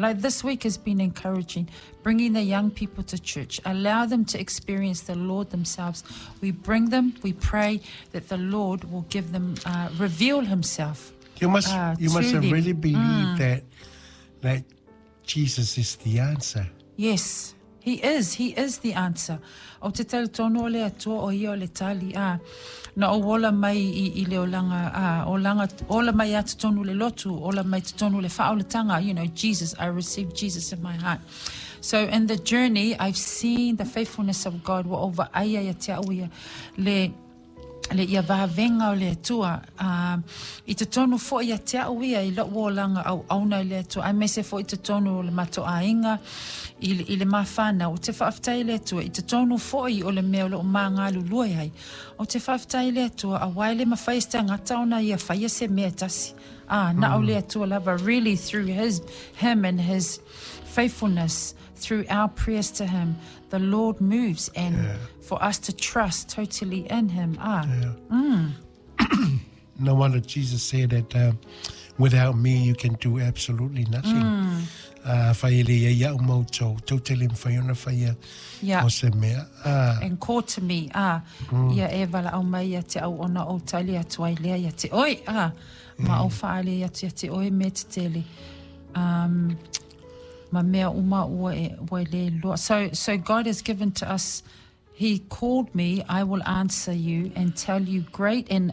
Like this week has been encouraging, bringing the young people to church, allow them to experience the Lord themselves. We bring them, we pray that the Lord will give them, reveal Himself. You must you to must them. Really believe that Jesus is the answer. Yes, He is. He is the answer. Ou te talitonu o le Atua o ia o le tali a na ou ola mai i le olaga a olaga ola mai a totonu le lotu ola mai totonu le faaolatanga. Jesus, I received Jesus in my heart. So in the journey I've seen the faithfulness of God. Ua ou vaaia ia te au ia le ia vavega o le Atua i totonu fo'i ia te a'u ia i lo'u olaga auauna i le Atua aemaise fo'i i totonu o le matou aiga i le mafanau. Ou te faafetai i le Atua i totonu fo'i o le mea o lo'o magalulue ai. Ou te faafetai i le Atua auā e le mafai e se tagata ona ia faia se mea e tasi na o le Atua lava. Really, through his him and his faithfulness, through our prayers to him, the Lord moves, and for us to trust totally in him. No wonder Jesus said that without me you can do absolutely nothing. Fai ele ia ia mau tau, tau te le mwhai ona whai o se mea. And call to me ia e valaau mai ia te au ona ou tali atu ai lea ia te oe ma ou faaali atu ia te oe mea tetele ma mea uma ua e le iloa. So God has given to us. He called me, "I will answer you and tell you great and